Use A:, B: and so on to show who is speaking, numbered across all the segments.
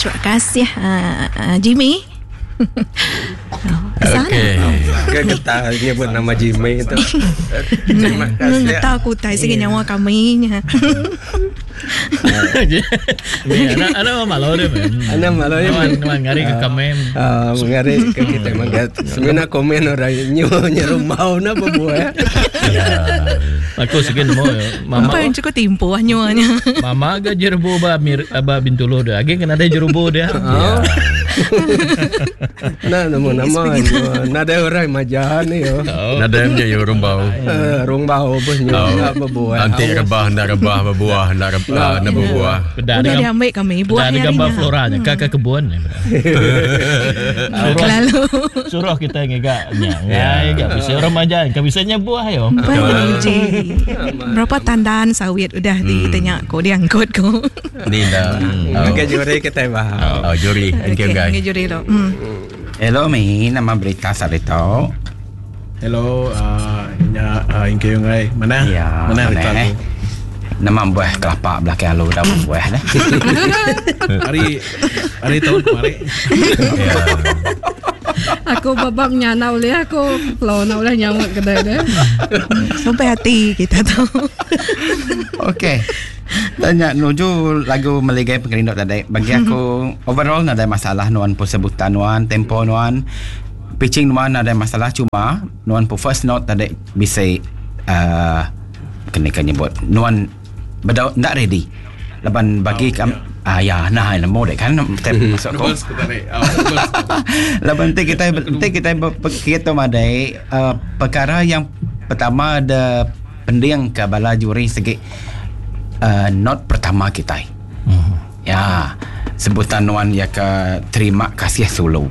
A: Terima kasih uh, Jimmy.
B: Okey.
C: Ke getah nyebut nama Jimmy tu. Terima kasih.
A: Ngetau aku utai sigi nyawa kami nya.
D: Anak anak malu dia.
C: Anak malu dia.
D: Nuan nuan ngari ke kami.
C: Ah, ngari ke kita magat. Semina komen orang nyu nyerumbau na bebuah.
D: Ya. Aku sigi nemu mama.
A: Apa yang cukup timpuh nyuanya.
D: Mama ga jerubu ba mir ba Bintulu dia. Agi kena ada jerubu dia.
C: Oh. Nah, nama nama nadai orang majan ni yo.
D: Oh.
B: Nadai punya yo rumbau.
C: Eh, rumbau pun nyu
B: Oh.
C: bebuah.
B: Anti rebah nda rebah berbuah nda rebah nda berbuah.
D: Peda
A: Udah
D: ada
A: diambil kami
D: peda
A: buah
D: ada
A: hari
D: gambar
A: nya.
D: flora nya ke kebun. Suruh
A: Kelalu.
D: suruh kita ngiga nya. Ngai ga bisa orang majan, ka bisa nya buah yo.
A: Uji. Berapa tandan sawit udah ditanya ko diangkut ko.
B: Ni dah.
C: Okey juri kita bah.
B: Oh, juri. Thank you
A: Okey,
B: guys.
A: okay, juri tu. Hmm.
E: Hello mi, nama berita sarito.
F: Hello, uh, nya uh, Ingke Yungai. Mana?
E: Ya,
F: Mana berita
E: eh.
F: tu?
E: Nama buah kelapa belakang alu dah buah dah.
F: Hari hari tahun kemarin.
B: Ya.
G: Aku babak nyana oleh aku Lo nak oleh nyamuk kedai dia.
A: Sampai hati kita tu.
E: Okey. Tanya nuju lagu Meligai Pengerindu tadi. Bagi aku overall nadai masalah nuan pun sebutan nuan, tempo nuan, pitching nuan nadai masalah cuma nuan pun first note tadi bisa uh, kena kan nyebut nuan bedau ndak ready. Laban bagi oh, kam ah ya nah nemu dek kan tep masuk ko.
F: Nervous ke tadi. Oh, nervous.
E: Laban nanti kita nanti kita berpikir tu madai uh, perkara yang pertama ada pending ke bala juri segi uh, not pertama kita. Ya, sebutan nuan ya ke terima kasih solo.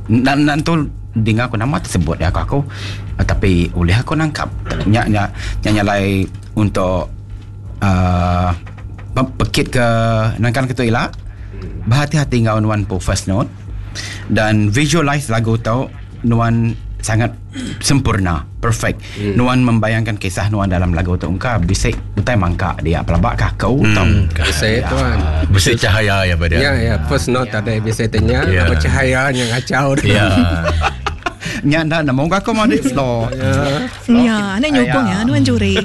E: Nan nan tu dengar aku nama tersebut ya aku aku uh, tapi oleh aku nangkap nya nya nya nyalai untuk uh, pekit ke nangkan ke tu ila berhati-hati ngau nuan po first note dan visualize lagu tu nuan sangat sempurna perfect hmm. nuan membayangkan kisah nuan dalam lagu tu engkau bisik utai mangka dia pelabak kau hmm. tau
C: Bisa tuan.
B: Bersih cahaya ya pada.
C: Ya ya first note tadi bisa tanya
B: Ya.
C: apa cahaya yang ngacau.
B: Ya.
E: nya ndak nemu aku mau di floor
A: Ya, anak nyokong ya, nuan juri.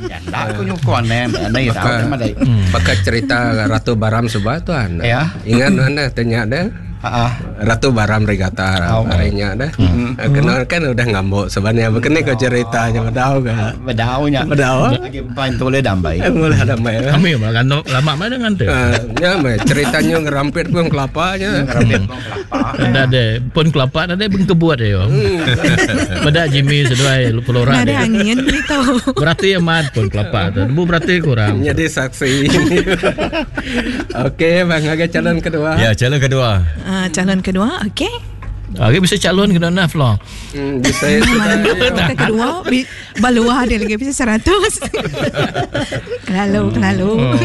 E: ya ndak aku nyokong ne ne tau
C: Baka,
E: ne madai
C: baka cerita Ratu Baram sebab tuan.
E: Ya.
C: Ingat nuan dah tanya dah.
E: ha
C: Ratu Baram Regatta
E: Oh.
C: harinya dah. Kena kan udah ngambuk sebenarnya. Begini kau ceritanya bedau ke?
E: bedaunya
C: Bedau.
E: lagi pain tole dambai
C: Eh, Mulai ada main.
D: Kami malah lama mana dengan tu.
C: Ah, ya, meh, ceritanya ngerampit pun kelapanya.
D: Ada ada pun kelapa ada bengkebuat yo. Pada Jimmy seduai flora
A: Ada
D: dia.
A: angin itu.
D: Berarti amat pun kelapa tu. Bu berarti kurang.
C: Jadi saksi. Okey, bang, agak calon kedua.
B: Ya, calon kedua.
A: Ah, calon kedua, okey.
D: Okey bisa calon kena naf lah.
C: Hmm, bisa sudah.
A: Ke kedua bi- baluah dia lagi bisa 100. Kelalu, kelalu.
D: Oh,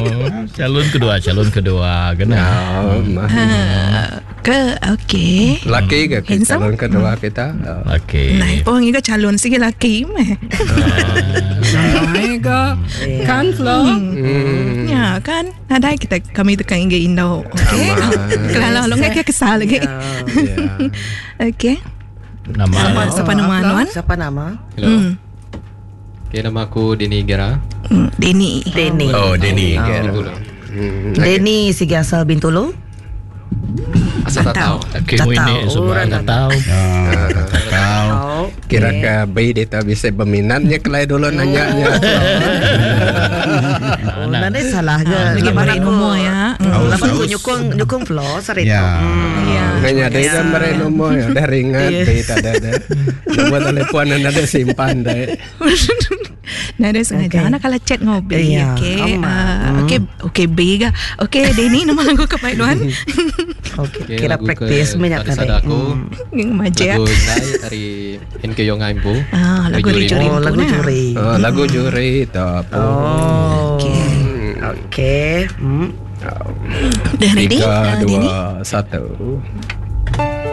D: calon kedua, calon kedua kena.
C: Oh, mah.
A: Ah, ke okey.
C: Laki ke ke
A: Handsome?
C: calon kedua kita? Oh.
D: Okey.
A: Nah, pun ingat calon sigi laki meh.
G: Hai ke kan Flo.
C: Hmm.
A: Ya kan Nadai kita kami tukang ingat Indo Okey Kelalu lo nggak kesal lagi
C: Ya.
A: Okey
D: Nama
A: Siapa siapa nama
H: Flo,
A: Nuan?
H: Siapa nama?
I: Hello.
A: Hmm.
I: Okay, nama aku Dini Gera.
A: Hmm, Denny
H: Denny.
B: Oh, Denny.
I: Bintulu.
C: Hmm.
H: Denny sigi asal Bintulu.
I: Asal tak tahu.
D: Okey,
H: Tak
D: ini
H: tahu.
D: semua
H: Orang
D: tak tahu.
E: kau
H: Oh.
C: Kira ke bayi dia tak bisa berminatnya kelai dulu nanya nya.
H: Oh, nanti salah ke.
A: Ah, lagi
H: Laban
A: beri
H: aku-
A: nombor ya.
H: Hmm,
E: Aus,
H: Laban aku
E: aus.
H: nyukung nyukung Flo sorry
E: Ya.
H: tu. Hmm.
A: Ya
C: Nanya dia dah beri nombor ya, dah ringan
H: Ya.
C: dia tak ada dah. Nombor telefon ada simpan dah.
A: Nah, dia sengaja.
H: Okey.
A: Anak kalau chat ngopi.
H: Ya,
A: Okey.
H: aman.
A: Ah, Okey, okey B ke. Okey, Denny nama lagu ke Pak Duan.
H: Okey,
I: Okay,
H: kira
I: lagu
H: praktis
I: ke
H: minyak
I: Tak
H: tadi.
I: Sadar Aku.
H: Hmm.
A: Yang majak.
I: Lagu Indai dari NK Yongai Empu.
A: Ah, lagu dari Juri
H: Oh,
A: Empu
H: lagu
A: nah.
H: juri.
C: Oh, lagu juri tu apa?
H: Oh.
A: Okey.
H: Okey. Hmm.
A: Dah ready?
C: Tiga,
A: Ah, Denny?
C: dua, satu.